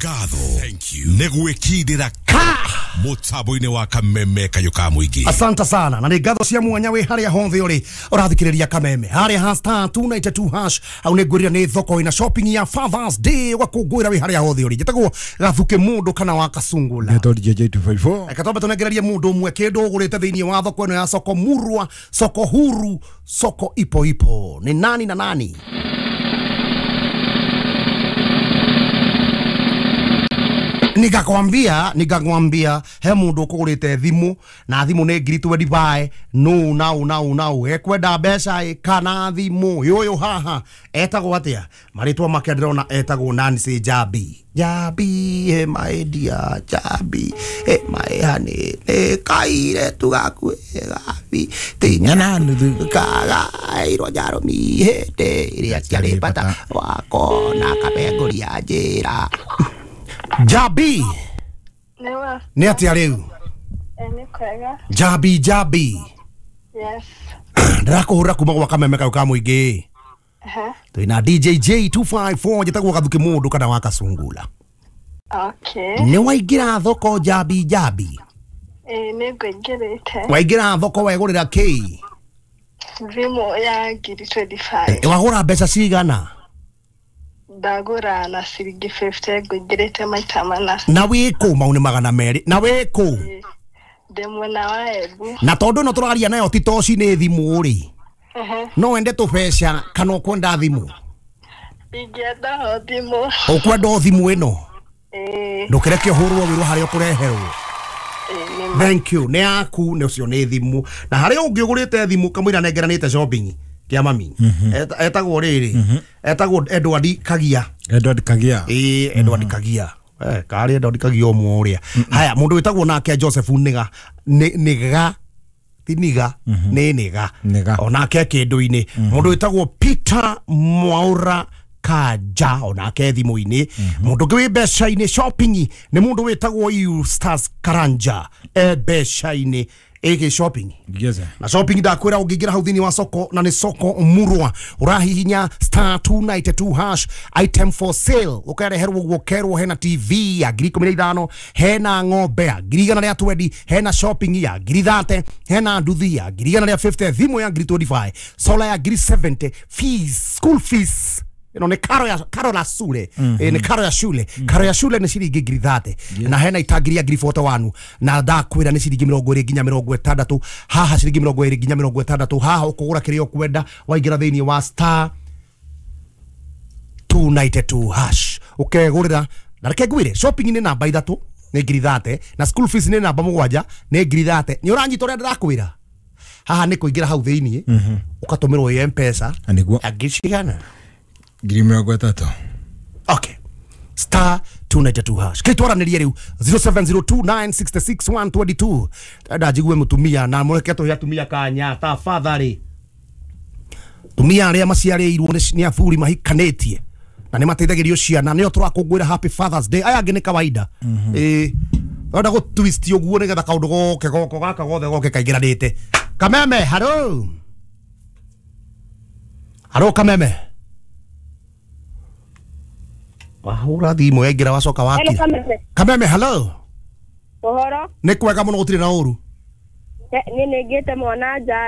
Nĩ ngatho nĩ gwĩkindĩra ka mũtambo-inĩ wa Kameme kayũ ka mũingĩ. Asante sana na nĩ ngatho cia mwanya wĩ harĩa hothe ũrĩ ũrathikĩrĩria Kameme harĩa ha star 292 hash au nĩ ngwĩrire nĩ thoko ĩna shopping ya Father's Day ũgakũngũĩra wĩ harĩa hothe ũrĩ. Njĩtagwo Gathuke mũndũ kana wa Kasungula. Ngetwo DJ 254. Reke twambe tũnengererie mũndũ ũmwe kĩndũ ũgũrĩte thĩinĩ wa thoko ĩno ya soko murwa, soko huru, soko ipo ipo. Nĩ nani na nani? Nikakwambia he mundu ukugurite thimu na thimu ni ngiri 25 no nau nau nau ekwenda mbeca ĩ kana thimu yuyu haha etagwo atia maritwa make ndirona etagwo Nancy Jambi. Jambi he my dear Jambi he my honey nĩ kaire tugaku gabi tinyana nuthu kagairwo njaromi hĩndĩ ĩrĩa ciarĩ bata wako na kabenguria njĩra. Jambi. Newa. Nĩ atĩa rĩu? Nĩ kwega. Jambi Jambi. Yes. Ndĩrakũhũrĩra kuma gwa Kameme kau ka mũingĩ. Twĩna DJ J254 njĩtagwo Gathuke mũndũ kana wa Kasungula. Okay. Nĩ waingĩra thoko Jambi Jambi? Ĩĩ nĩ ngũingĩrĩte. Waingĩra thoko wegũrĩra kĩ? Thimũ ya ngiri 25. Wagũra mbeca cigana? Ndagũra na ciringi 50 ngũingĩrĩte maita mana. Na wĩkũ? Mau nĩ 200. Na wĩkũ? Ndĩ mwena wa Embu. Na tondũ ĩno tũraria nayo ti toci nĩ thimũ rĩ, no wende tũbeca kana ũkwenda thimũ? Ingĩenda o thimũ. Ũkwenda o thimũ ĩno? Ĩĩ. Ndũkĩreke ũhũrwo wĩrwo harĩa ũkũreherwo. Thank you. Nĩ yaku nĩ ũcio nĩ thimũ. Na harĩa ũngĩ ũgũrĩte thimũ kamũira nengeranĩte shopping kia mami. Etagwo rĩrĩ. Etagwo Edward Kagia. Edward Kagia. Ĩĩ Edward Kagia. Karĩ Edward Kagia ũmwe ũrĩa. Haya mũndũ wĩtagwo nake Joseph Niga. Niga ti Niga nĩ Niga. Onake kĩndũ-inĩ. Mũndũ wĩtagwo Peter Mwaura Kaja onake thimũ-inĩ. Mũndũ ũngĩ wĩ mbeca-inĩ shopping nĩ mũndũ wĩtagwo Eustace Karanja e mbeca-inĩ ĩgĩ shopping. Yes. Na shopping ndakwĩra ũngĩingĩra hau thĩinĩ wa soko na nĩ soko murwa ũrahihinya star 292 hash item for sale ũkareherwo ũguo ũkerwo hena TV ya ngiri 15, hena ng'ombe ya ngiri 120, hena shopping ya ngiri 30, hena nduthi ya ngiri 150, thimũ ya ngiri 25, solar ya ngiri 70, fees, school fees ĩno nĩ karo la shule. Nĩ karo ya shule. Karo ya shule nĩ ciringi ngiri 30. Na hena itangi ya ngiri 41 na ndakwĩra nĩ ciringi 20 nginya 60 haha ciringi 20 nginya 60 haha ũkũgũra kĩrĩa ũkwenda waingĩra thĩinĩ wa star 292 hash ũkegũrĩra. Na reke ngwĩre shopping nĩ namba 3 nĩ ngiri 30 na school fees nĩ namba 7 nĩ ngiri 30. Nĩ ũranyita ũrĩa ndĩrakwĩra? Haha nĩ kũingĩra hau thĩinĩ ũkatũmĩrwo ĩ M-Pesa ya ngiri cigana? Ngiri 30. Okay. Star 292 hash. Kĩtwaranĩrie rĩu 0702966122. Ndenda njigue mũtumia na mũreke tũhe atumia kanya tafadhali. Tumia arĩa maciarĩirwo nĩ athuri mahikanĩtie na nĩ mateithagĩrio ciana nĩo tũrakũngũĩra Happy Father's Day. Aya angĩ nĩ kawaida. Ĩĩ. Ndĩrenda gũ twist ũguo nĩgetha kaũndũ goke goko gaka gothe goke kaingĩranĩte. Kameme, hello. Hello Kameme. Wahũra thimũ yaingĩra wacoka wakira. Kameme, hello. Ũhoro? Nĩ kwega mũno gũtirĩ na ũru. Niĩ nĩngĩte mwana nja.